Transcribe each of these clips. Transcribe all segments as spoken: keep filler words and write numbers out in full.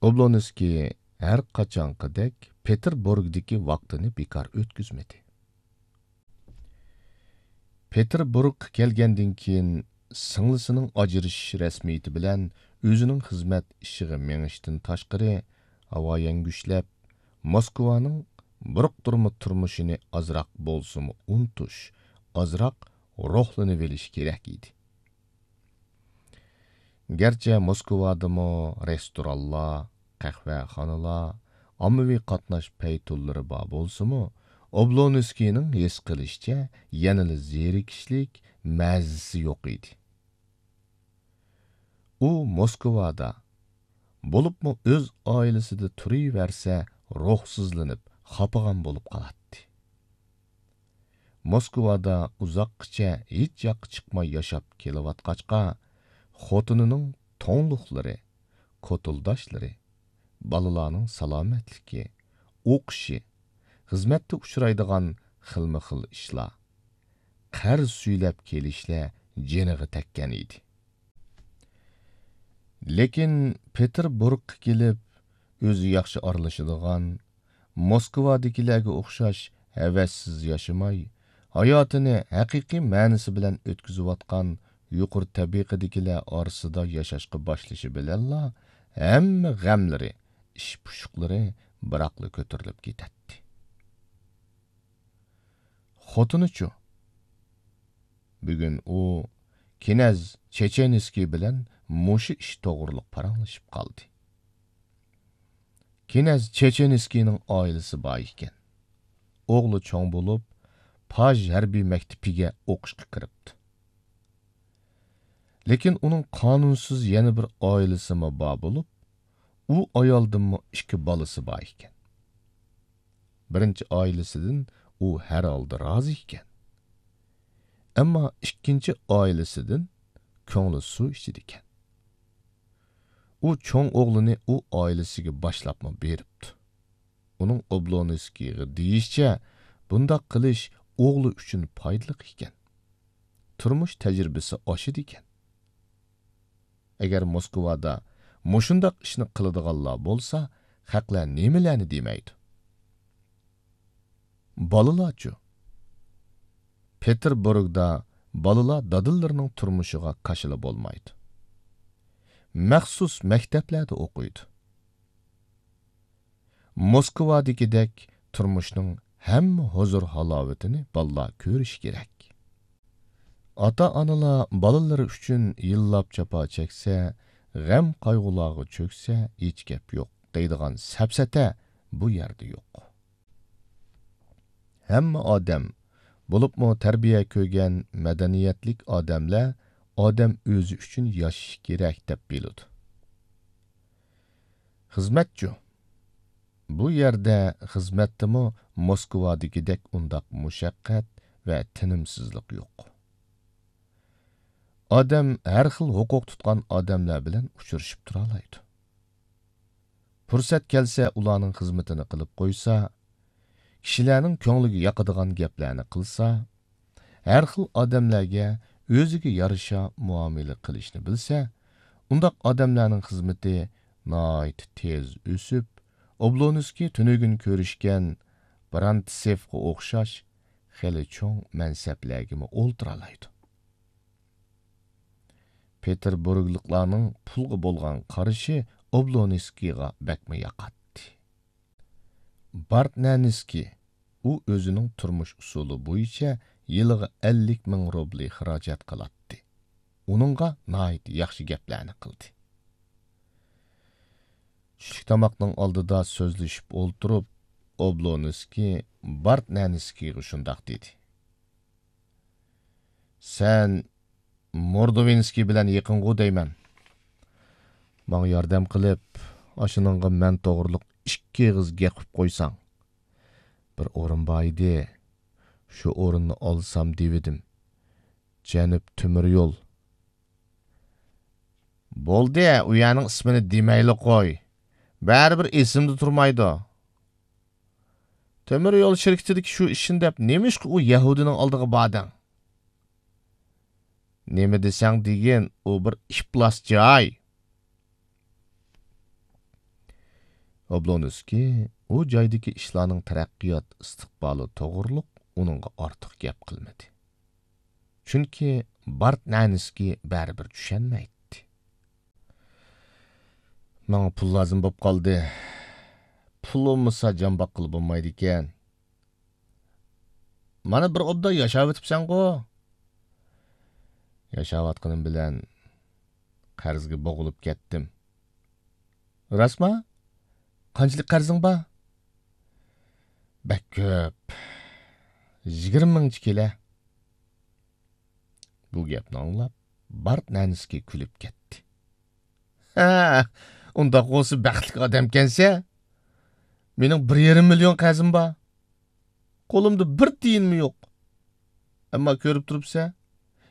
ئوبلونسكىي ھەر قاچانقىدەك پېتېربۇرگدىكى ۋاقتىنى بىكار ئۆتكۈزمىدى. پېتېربۇرگقا كەلگەندىن كېيىن، سىڭلىسىنىڭ ئاجرىشىش رەسمىيىتى بىلەن ئۆزىنىڭ خىزمەت ئىشىغا مېڭىشتىن تاشقىرى، ھاۋا يەڭگۈشلەپ، موسكۋانىڭ بۇرۇقتۇرما تۇرمۇشىنى ئازراق بولسىمۇ ئۇنتۇش، ئازراق روھلىنىۋېلىش كېرەك ئىدى. گەرچە موسكۋادىمۇ رېستورانلار، قەھۋەخانىلار، ئاممىۋى قاتناش پەيتۇنلىرى بار بولسىمۇ، ئوبلونسكىينىڭ ھېس قىلىشىچە يەنىلا زېرىكىشلىك، مەزىسى يوق ئىدى. ئۇ موسكۋادا، بولۇپمۇ ئۆز ئائىلىسىدە تۇرۇۋەرسە روھسىزلىنىپ، خاپىغان بولۇپ قالاتتى. موسكۋادا ئۇزاققىچە ھېچ ياققا چىقماي ياشاپ كېلىۋاتقاچقا، خوتۇنىنىڭ توڭلۇقلىرى، كوتۇلداشلىرى، بالىلارنىڭ سالامەتلىكى، ئوقۇشى، خىزمەتتە ئۇچرايدىغان خىلمۇ خىل ئىشلار، قەرز سۈيلەپ كېلىشلەر جېنىغا تەگكەن ئىدى. لېكىن پېتېربۇرگقا كېلىپ، ئۆزى ياخشى ئارىلىشىدىغان، موسكۋادىكىلەرگە ئوخشاش ھەۋەسسىز ياشىماي، ھاياتىنى ھەقىقىي مەنىسى بىلەن ئۆتكۈزۈۋاتقان يۇقىرى تەبىقىدىكىلەر ئارىسىدا ياشاشقا باشلىشى بىلەنلا، ھەممە غەملىرى، ئىش پۇشۇقلىرى بىراقلا كۆتۈرۈلۈپ كېتەتتى. خوتۇنىچۇ؟ بۈگۈن ئۇ كىنەز چېچېنسكىي بىلەن مۇشۇ ئىش توغرۇلۇق پاراڭلىشىپ قالدى. كىنەز چېچېنسكىينىڭ ئائىلىسى بار ئىكەن. ئوغلى چوڭ بولۇپ، پاژ ھەربىي مەكتىپىگە ئوقۇشقا كىرىپتۇ. لېكىن ئۇنىڭ قانۇنسىز يەنە بىر ئائىلىسىمۇ بار بولۇپ، ئۇ ئايالدىنمۇ ئىككى بالىسى بار ئىكەن. بىرىنچى ئائىلىسىدىن ئۇ ھەر ھالدا رازى ئىكەن. ئەمما ئىككىنچى ئائىلىسىدىن كۆڭلى سۇ ئىچىدىكەن. ئۇ چوڭ ئوغلىنى ئۇ ئائىلىسىگە باشلاپمۇ بېرىپتۇ. ئۇنىڭ ئوبلونسكىيغا دېيىشىچە، بۇنداق قىلىش ئوغلى ئۈچۈن پايدىلىق ئىكەن. تۇرمۇش تەجرىبىسى ئاشىدىكەن. ئەگەر موسكۋادا مۇشۇنداق ئىشنى قىلىدىغانلار بولسا، خەقلەر نېمىلەرنى دېمەيدۇ؟ بالىلارچۇ؟ پېتېربۇرگدا بالىلار دادىلىرىنىڭ تۇرمۇشىغا كاشىلا بولمايدۇ. مەخسۇس مەكتەپلەردە ئوقۇيدۇ. موسكۋادىكىدەك تۇرمۇشنىڭ ھەممە ھۇزۇر-ھالاۋىتىنى بالىلار كۆرۈشى كېرەك. ئاتا-ئانىلار بالىلىرى ئۈچۈن يىللاپ جاپا چەكسە، غەم-قايغۇلارغا چۆكسە، ھېچ گەپ يوق دەيدىغان سەپسەتە بۇ يەردە يوق. ھەممە ئادەم، بولۇپمۇ تەربىيە كۆرگەن مەدەنىيەتلىك ئادەملەر ئادەم ئۆزى ئۈچۈن ياشىشى كېرەك دەپ بىلىدۇ. خىزمەتچۇ؟ بۇ يەردە خىزمەتتىمۇ موسكۋادىكىدەك ئۇنداق مۇشەققەت ۋە تىنىمسىزلىق يوق. ئادەم ھەر خىل ھوقۇق تۇتقان ئادەملەر بىلەن ئۇچرىشىپ تۇرالايدۇ. پۇرسەت كەلسە ئۇلارنىڭ خىزمىتىنى قىلىپ قويسا، كىشىلەرنىڭ كۆڭلىگە ياقىدىغان گەپلەرنى قىلسا، ھەر خىل ئادەملەرگە ئۆزىگە يارىشا مۇئامىلە قىلىشنى بىلسە، ئۇنداق ئادەملەرنىڭ خىزمىتى ناھايىتى تېز ئۆسۈپ، ئوبلونسكىي تۈنۈگۈن كۆرۈشكەن برانتسېفقا ئوخشاش خېلى چوڭ مەنسەپلەرگىمۇ ئولتۇرالايدۇ. پېتېربۇرگلىقلارنىڭ پۇلغا بولغان قارىشى ئوبلونسكىيغا بەكمۇ ياقاتتى. بارتنەنسكىي، ئۇ ئۆزىنىڭ تۇرمۇش ئۇسۇلى بويىچە يىلىغا ئەللىك مىڭ روبلى خىراجەت قىلاتتى. ئۇنىڭغا ناھايىتى ياخشى گەپلەرنى قىلدى. چۈشلۈك تاماقنىڭ ئالدىدا سۆزلىشىپ ئولتۇرۇپ، ئوبلونسكىي بارتنەنسكىيغا شۇنداق دېدى: سەن موردوۋىنسكىي بىلەن يېقىنغۇ دەيمەن. ماڭا ياردەم قىلىپ، ئاشۇنىڭغا مەن توغرۇلۇق ئىككى ئېغىز گەپ قىلىپ قويساڭ. بىر ئورۇن بار ئىدى، شۇ ئورۇننى ئالسام دېۋىدىم. جەنۇب تۆمۈر يول. بولدى، ئۇ يەرنىڭ ئىسمىنى دېمەيلى قوي. بەرىبىر ئېسىمدە تۇرمايدۇ. تۆمۈر يول شىركىتىدىكى شۇ ئىشنى دەپ نېمىشقا ئۇ يەھۇدىينىڭ ئالدىغا باردىڭ؟ نېمە دېسەڭ دېگىن، ئۇ بىر ئىپلاس جاي. ئوبلونسكىي ئۇ جايدىكى ئىشلارنىڭ تەرەققىيات ئىستىقبالى توغرۇلۇق ئۇنىڭغا ئارتۇق گەپ قىلمىدى. چۈنكى بارتنەنسكىي بەرىبىر چۈشەنمەيتتى. ماڭا پۇل لازىم بولۇپ قالدى. پۇل بولمىسا جان باققىلى بولمايدىكەن. مانا بىر ئوبدان ياشاۋېتىپسەنغۇ. ياشاۋاتقىنىم بىلەن قەرزگە بوغۇلۇپ كەتتىم. راستما؟ قانچىلىك قەرزىڭ بار؟ بەك كۆپ. يىگىرمە مىڭچە كېلە. بۇ گەپنى ئاڭلاپ، بارتنەنسكىي كۈلۈپ كەتتى. ھە، ئۇنداق بولسا بەختلىك ئادەمكەنسەن. مېنىڭ بىر يېرىم مىليون قەرزىم بار. قولۇمدا بىر تىيىنمۇ يوق. ئەمما كۆرۈپ تۇرۇپسەن،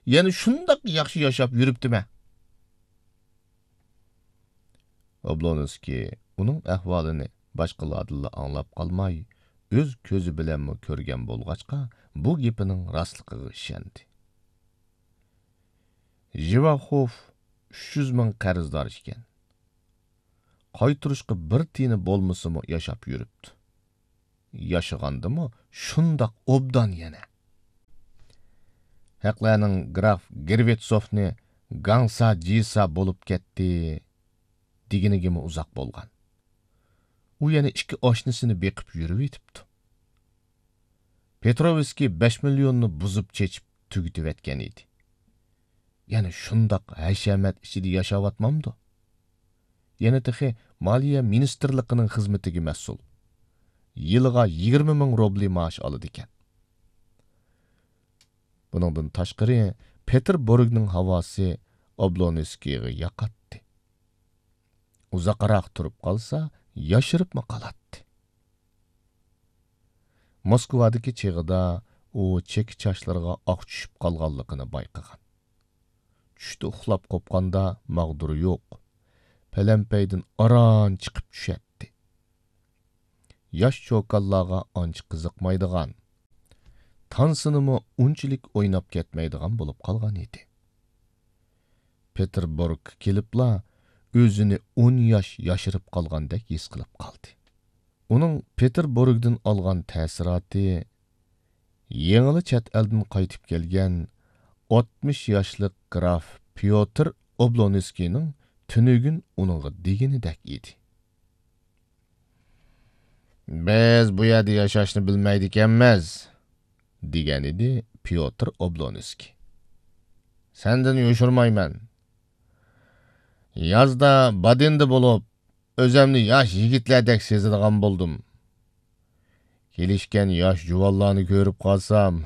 يەنە شۇنداق ياخشى ياشاپ يۈرۈپتىمەن. ئوبلونسكىي ئۇنىڭ ئەھۋالىنى باشقىلاردىنلا ئاڭلاپ قالماي، ئۆز كۆزى بىلەنمۇ كۆرگەن بولغاچقا، بۇ گېپىنىڭ راستلىقىغا ئىشەندى. ژىۋاخوف ئۈچ يۈز مىڭ قەرزدار ئىكەن. قايتۇرۇشقا بىر تىيىنى بولمىسىمۇ ياشاپ يۈرۈپتۇ. ياشىغاندىمۇ شۇنداق ئوبدان يەنە. ھەقلەرنىڭ گراف گېرۋېتسوفنى گاڭسا جىسا بولۇپ كەتتى دېگىنىگىمۇ ئۇزاق بولغان. ئۇ يەنە ئىككى ئاشنىسىنى بېقىپ يۈرۈۋېتىپتۇ. پېتروۋسكىي بەش مىليوننى بۇزۇپ چېچىپ تۈگىتىۋەتكەن ئىدى. يەنە شۇنداق ھەشەمەت ئىچىدە ياشاۋاتمامدۇ؟ يەنە تېخى مالىيە مىنىستىرلىقىنىڭ خىزمىتىگە مەسئۇل. يىلىغا يىگىرمە مىڭ روبلى مائاش ئالىدىكەن. بۇنىڭدىن تاشقىرى، پېتېربۇرگنىڭ ھاۋاسى ئوبلونسكىيغا ياقاتتى. ئۇزاقراق تۇرۇپ قالسا، ياشىرىپمۇ قالاتتى. موسكۋادىكى چېغىدا ئۇ چېكە چاچلىرىغا ئاق چۈشۈپ قالغانلىقىنى بايقىغان. چۈشتە ئۇخلاپ قوپقاندا ماغدۇرى يوق، پەلەمپەيدىن ئاران چىقىپ چۈشەتتى. ياش چوكانلارغا ئانچە قىزىقمايدىغان، تانسىنىمۇ ئۇنچىلىك ئويناپ كەتمەيدىغان بولۇپ قالغان ئىدى. پېتېربۇرگقا كېلىپلا ئۆزىنى ئون ياش ياشىرىپ قالغاندەك ھېس قىلىپ قالدى. ئۇنىڭ پېتېربۇرگدىن ئالغان تەسىراتى يېڭىلا چەت ئەلدىن قايتىپ كەلگەن ئاتمىش ياشلىق گراف پيوتىر ئوبلونسكىينىڭ تۈنۈگۈن ئۇنىڭغا دېگىنىدەك ئىدى. «بىز بۇ يەردە ياشاشنى بىلمەيدىكەنمىز»، دېگەنىدى پيوتىر ئوبلونسكىي. «سەندىن يوشۇرمايمەن. يازدا بادېندا بولۇپ، ئۆزۈمنى ياش يىگىتلەردەك سېزىدىغان بولدۇم. كېلىشكەن ياش جۇۋانلارنى كۆرۈپ قالسام،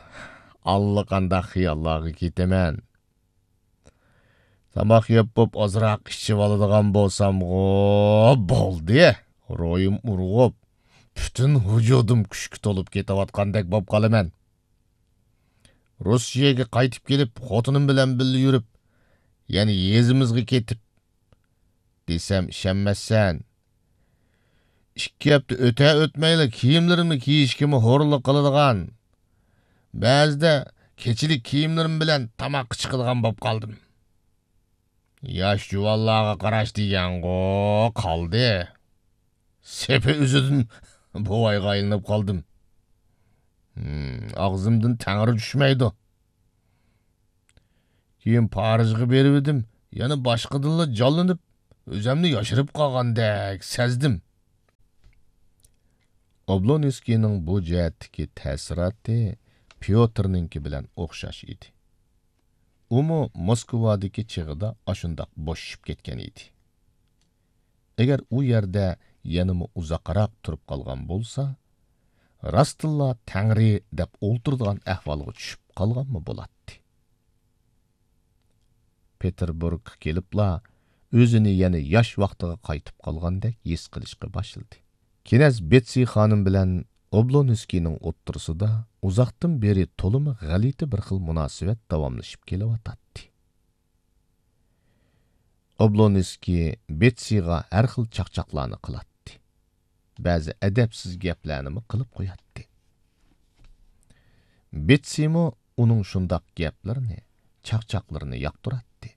ئاللىقانداق خىياللارغا كېتىمەن. تاماق يەپ بوپ ئازراق ئىچىۋالىدىغان بولسامغۇ، بولدى، روھىم ئۇرغۇپ، پۈتۈن ۋۇجۇدۇم كۈچكە تولۇپ كېتىۋاتقاندەك بوپ قالىمەن. روسىيەگە قايتىپ كېلىپ، خوتۇنۇم بىلەن بىللە يۈرۈپ، يەنە يېزىمىزغا كېتىپ، دېسەم ئىشەنمەسسەن. ئىككى ھەپتە ئۆتە-ئۆتمەيلا كىيىملىرىمنى كىيىشكىمۇ ھورلۇق قىلىدىغان، بەزىدە كېچىلىك كىيىملىرىم بىلەن تاماققا چىقىدىغان بولۇپ قالدىم. ياش جۇۋانلارغا قاراش دېگەنغۇ قالدى. سېپى ئۆزىدىن بوۋايغا ئايلىنىپ قالدىم. ھىم، ئاغزىمدىن تەڭرى چۈشمەيدۇ. كېيىن پارىژغا بېرىۋىدىم، يەنە باشقىدىنلا جانلىنىپ، ئۆزۈمنى ياشىرىپ قالغاندەك سەزدىم.» ئوبلونسكىينىڭ بۇ جەھەتتىكى تەسىراتى پيوتىرنىڭكى بىلەن ئوخشاش ئىدى. ئۇمۇ موسكۋادىكى چېغىدا ئاشۇنداق بوشىشىپ كەتكەن ئىدى. ئەگەر ئۇ يەردە يەنىمۇ ئۇزاقراق تۇرۇپ قالغان بولسا، راستتىنلا تەڭرى دەپ ئولتۇرىدىغان ئەھۋالغا چۈشۈپ قالغانمۇ بولاتتى. پېتېربۇرگقا كېلىپلا ئۆزىنى يەنە ياش ۋاقتىغا قايتىپ قالغاندەك ھېس قىلىشقا باشلىدى. كىنەز بېتسى خانىم بىلەن ئوبلونسكىينىڭ ئوتتۇرىسىدا ئۇزاقتىن بېرى تولىمۇ غەلىتە بىر خىل مۇناسىۋەت داۋاملىشىپ كېلىۋاتاتتى. ئوبلونسكىي بېتسىغا ھەر خىل چاقچاقلارنى قىلاتتى. بەزى ئەدەپسىز گەپلەرنىمۇ قىلىپ قوياتتى. بېتسىمۇ ئۇنىڭ شۇنداق گەپلىرىنى، چاقچاقلىرىنى ياقتۇراتتى.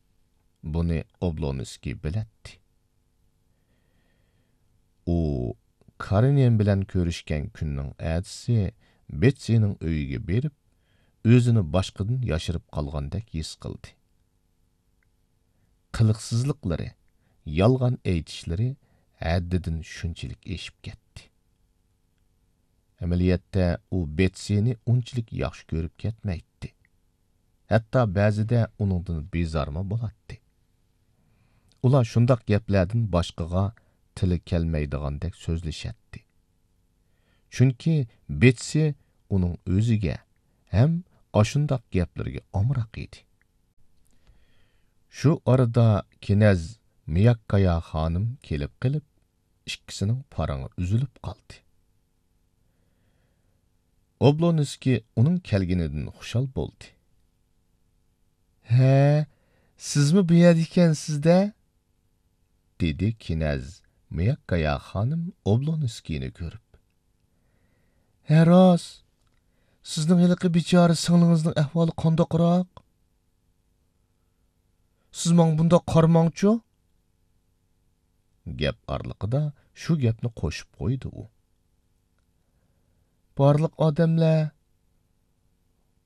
بۇنى ئوبلونسكىي بىلەتتى. ئۇ كارېنىن بىلەن كۆرۈشكەن كۈننىڭ ئەتىسى بېتسىنىڭ ئۆيىگە بېرىپ، ئۆزىنى باشقىدىن ياشىرىپ قالغاندەك ھېس قىلدى. قىلىقسىزلىقلىرى، يالغان ئېيتىشلىرى ھەددىدىن شۇنچىلىك ئېشىپ كەتتى. ئەمەلىيەتتە ئۇ بېتسىنى ئۇنچىلىك ياخشى كۆرۈپ كەتمەيتتى. ھەتتا بەزىدە ئۇنىڭدىن بىزارمۇ بولاتتى. ئۇلار شۇنداق گەپلەردىن باشقىغا تىلى كەلمەيدىغاندەك سۆزلىشەتتى. چۈنكى بېتسى ئۇنىڭ ئۆزىگە ھەم ئاشۇنداق گەپلىرىگە ئامراق ئىدى. شۇ ئارىدا كىنەز مىياككايا خانىم كېلىپ قېلىپ، ئىككىسىنىڭ پارىڭى ئۈزۈلۈپ قالدى. ئوبلونسكىي ئۇنىڭ كەلگىنىدىن خۇشال بولدى. ھە، سىزمۇ بۇ يەردە ئىكەنسىز-دە؟ دېدى كىنەز مىياككايا خانىم ئوبلونسكىينى كۆرۈپ. ھە، راست. سىزنىڭ ھېلىقى بىچارە سىڭلىڭىزنىڭ ئەھۋالى قانداقراق؟ سىز ماڭا بۇنداق قارىماڭچۇ. گەپ ئارىلىقىدا شۇ گەپنى قوشۇپ قويدى ئۇ. بارلىق ئادەملەر،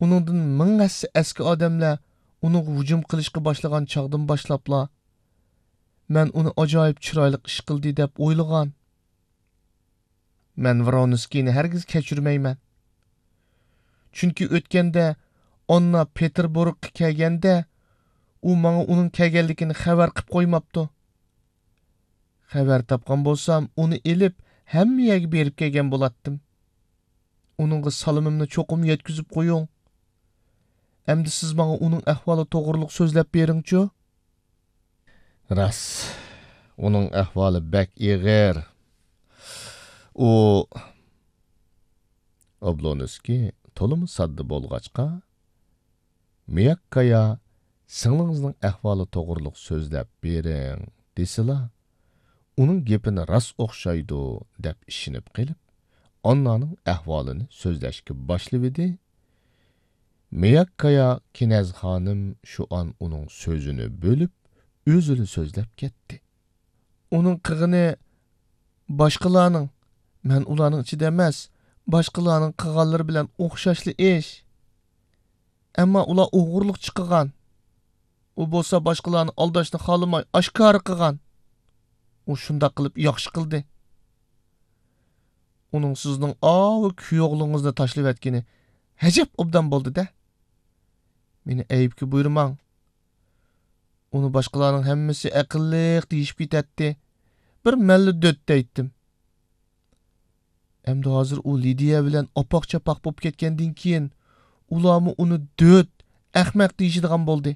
ئۇنىڭدىن مىڭ ھەسسە ئەسكى ئادەملەر ئۇنىڭغا ھۇجۇم قىلىشقا باشلىغان چاغدىن باشلاپلا، مەن ئۇنى ئاجايىپ چىرايلىق ئىش قىلدى دەپ ئويلىغان. مەن ۋرونسكىينى ھەرگىز كەچۈرمەيمەن. چۈنكى ئۆتكەندە ئاننا پېتېربۇرگقا كەلگەندە، ئۇ ماڭا ئۇنىڭ كەلگەنلىكىنى خەۋەر قىپ قويماپتۇ. خەۋەر تاپقان بولسام، ئۇنى ئېلىپ، ھەممە يەرگە بېرىپ كەلگەن بولاتتىم. ئۇنىڭغا سالىمىمنى چوقۇم يەتكۈزۈپ قويۇڭ. ئەمدى سىز ماڭا ئۇنىڭ ئەھۋالى توغرۇلۇق سۆزلەپ بېرىڭچۇ. راست، ئۇنىڭ ئەھۋالى بەك ئېغىر. ئۇ، ئوبلونسكىي تولىمۇ ساددا بولغاچقا، مىياككايا، سىڭلىڭىزنىڭ ئەھۋالى توغرۇلۇق سۆزلەپ بېرىڭ، دېسىلا، ئۇنىڭ گېپىنى راست ئوخشايدۇ، دەپ ئىشىنىپ قېلىپ، ئاننانىڭ ئەھۋالىنى سۆزلەشكە باشلىۋىدى. مىياككايا كىنەز خانىم شۇ ئان ئۇنىڭ سۆزىنى بۆلۈپ، ئۆزىلا سۆزلەپ كەتتى. ئۇنىڭ قىلغىنى باشقىلارنىڭ، مەن ئۇلارنىڭ ئىچىدە ئەمەس، باشقىلارنىڭ قىلغانلىرى بىلەن ئوخشاشلا ئىش. ئەمما ئۇلار ئوغرىلىقچە قىلغان. ئۇ بولسا باشقىلارنى ئالداشنى خالىماي ئاشكارا قىلغان. ئۇ شۇنداق قىلىپ ياخشى قىلدى. ئۇنىڭ سىزنىڭ ئاۋۇ كۈيئوغلىڭىزنى تاشلىۋەتكىنى ئەجەب ئوبدان بولدى-دە. مېنى ئەيىبكە بۇيرۇماڭ. ئۇنى باشقىلارنىڭ ھەممىسى ئەقىللىق دېيىشىپ كېتەتتى. بىر مەنلا دۆت دەيتتىم. ئەمدى ھازىر ئۇ لىدىيە بىلەن ئاپاق-چاپاق بولۇپ كەتكەندىن كېيىن، ئۇلارمۇ ئۇنى دۆت، ئەخمەق دېيىشىدىغان بولدى.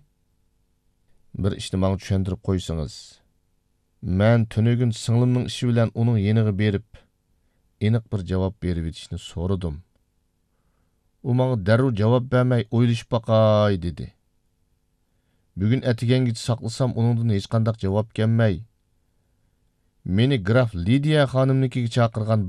بىر ئىشنى ماڭا چۈشەندۈرۈپ قويسىڭىز. مەن تۈنۈگۈن سىڭلىمنىڭ ئىشى بىلەن ئۇنىڭ يېنىغا بېرىپ، ئېنىق بىر جاۋاب بېرىۋېتىشنى سورىدىم. ئۇ ماڭا دەررۇ جاۋاب بەرمەي، ئويلىشىپ باقاي، دېدى. بۈگۈن ئەتىگەنگىچە ساقلىسام، ئۇنىڭدىن ھېچقانداق جاۋاب كەلمەي، مېنى گراف لىدىيە خانىمنىڭكىگە چاقىرغان